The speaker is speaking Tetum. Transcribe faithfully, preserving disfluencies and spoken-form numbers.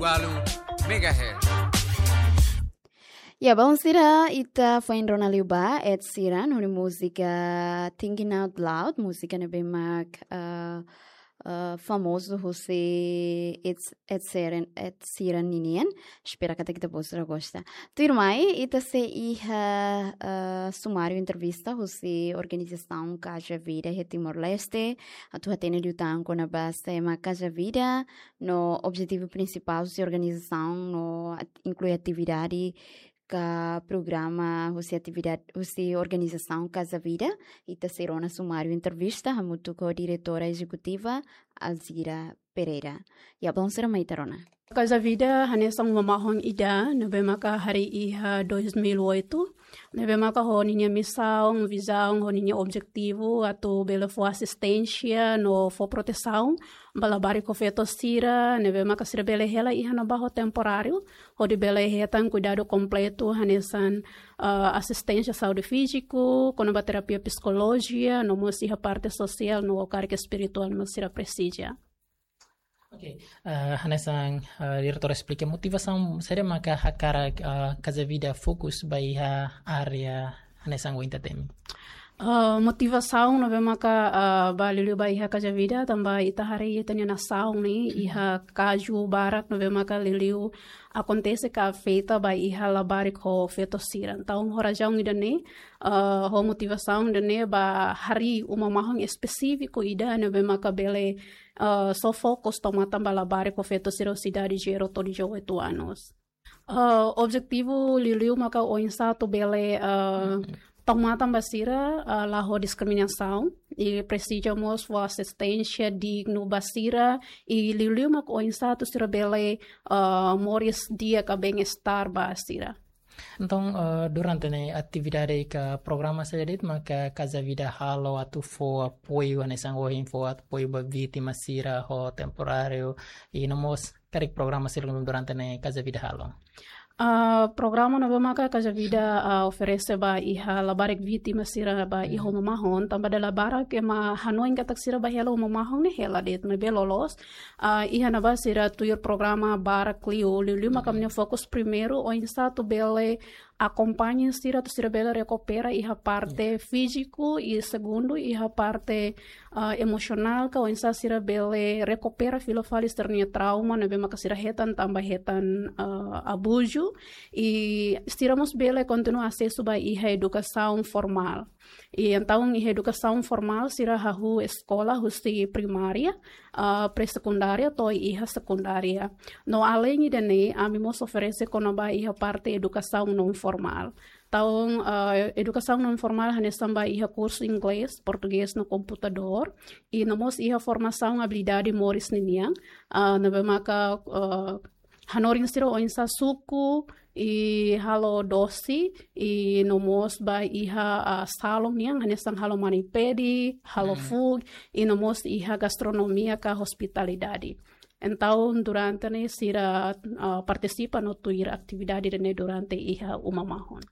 Walu megahertz. Ya, baun sira, ita foin rona liu ba Ed Sheeran ho nia múzika Thinking Out Loud, múzika ne'ebé mak, ah, ah, famozu husi Ed, Ed Sheeran, Ed Sheeran ninian. Espera katak ita-boot sira gosta. Tuirmai, ita sei iha, ah, sumáriu entrevista husi organizasaun Casa Vida iha Timor-Leste, atu hatene liután kona-ba sé mak Casa Vida, no objetivu prinsipál husi organizasaun, no at-, inklui atividade ka programa husi atividade husi organizasaun Casa Vida. Ita sei rona sumáriu entrevista hamutuk ho diretora ezekutiva Alzira Pereira. Ya, baun sira, mai ita rona. Casa Vida hanesan uma mahon ida ne'ebé maka harii iha dois mil e oito, ne'ebé maka ho ninia misaun, vizaun, ho ninia objetivu atu bele fó asisténsia no fó protesaun ba labarik ho feto sira ne'ebé maka sira bele hela iha ne'ebá ho temporáriu, hodi bele hetan kuidadu kompletu hanesan, ah, asisténsia saúde fíziku, kona-ba terapia psikolojia, no mós iha parte sosiál no karik espirituál mak sira presiza. Oke, eh, hanesan, eh, diretora esplika motivasaun saida maka hakarak, eh, Casa Vida fokus ba iha área hanesan ohin ita temi. Eh, motivasaun ne'ebé maka, eh, ba liuliu ba iha Casa Vida tanba ita haree ita-nia nasaun ne'e iha kazu barak ne'ebé maka liuliu akontese ka afeta ba iha labarik ho feto sira. Entaun ho razaun ida-ne'e, eh, ho motivasaun ida-ne'e ba harii uma mahon espesífiku ida ne'ebé maka bele, eh, só fokus tau matan ba labarik ho feto sira husi idade zero to'o dezoito anos. Eh, objetivu liuliu maka oinsá atu bele, eh, tau matan ba sira, eh, la ho diskriminasaun, i presiza mós fó asisténsia dignu ba sira, i liuliu maka oinsá atu sira bele, eh, moris di'ak ka bem-estar ba sira. Entaun, eh, durante ne'e atividade ka programa saida de'it maka Casa Vida halo atu fó apoiu hanesan ohin fó apoiu ba vítima sira ho temporáriu, i no mós karik programa sira durante ne'e Casa Vida halo? Ah, programa ne'ebé maka Casa Vida, ah, oferese ba iha labarik vítima sira ba iha uma mahon, tanba dala barak ema hanoin katak sira ba hela uma mahon ne'e hela de'it, maibé loloos, ah, iha ne'ebá sira tuir programa barak liu, liuliu maka ami-nia fokus primeiru oinsá atu bele akompaña sira atu sira bele rekupera iha parte fíziku, i segundu iha parte, ah, emosionál ka oinsá sira bele rekupera fila fali sira-nia trauma ne'ebé maka sira hetan tanba hetan, ah, abuzu, i sira mós bele kontinua asesu ba iha edukasaun formál. I entaun iha edukasaun formál sira hahú eskola husi primária, ah, pré-sekundária to'o iha sekundária. No aleinde ida-ne'e, ami mós oferese kona-ba iha parte edukasaun non-formál. Entaun, ah, edukasaun non-formál hanesan ba iha kursu inglés, portugés no komputadór, i no mós iha formasaun abilidade moris ninian, ah, ne'ebé maka, ah, hanorin sira oinsá suku, i halo dosi, i no mós ba iha, ah, salon nian, hanesan halo mani-pedi, halo food, i no mós iha gastronomia ka hospitalidade. Entaun, durante ne'e sira, ah, partisipa no tuir atividade ne'e durante iha uma mahon.